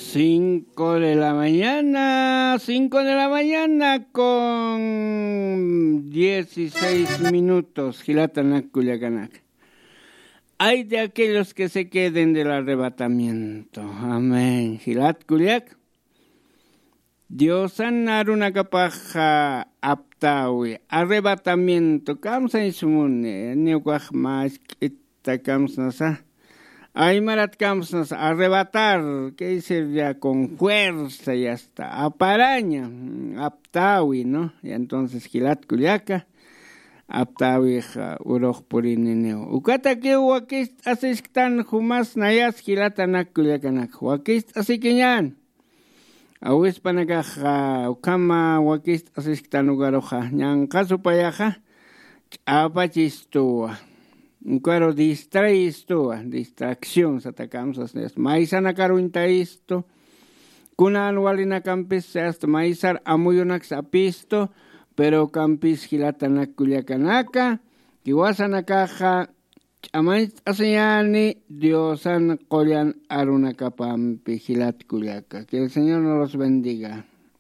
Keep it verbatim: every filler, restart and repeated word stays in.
Cinco de la mañana, cinco de la mañana con dieciséis minutos, jilatanak kullakanaka. Ay de aquellos que se queden del arrebatamiento. Amén. Jilat kullak. Diosan arunakapaxa aptawi, arrebatamiento, kamsañ sumuni, niwkax mask'ita kamsnasa. Aymarat kamsnasa, arrebatar, quiere decir ya con fuerza, ya está, aparaña, mm, aptawi, ¿no? Y entonces jilat kullaka, aptawixa urux purininiw. Ukatakiw wakist'asisktan jumas nayas jilatanak kullakanak, wakist'asikiñan. Awispanakax ukhama wakist'asisktan ukaruxa ñanqha supayaxa ch'apachistuwa. Ukaru distraistuwa, distracción satakamsas, maysanakaruñtaistu. Kunan walinakampis asta maysar amuyunaks apistu. Pero ukampis jilatanak kullakanaka, jiwasanakaxa ch'amañcht'asiñani Diosan qullan arunakapampi, jilat kullaka. Que el Señor nos los bendiga.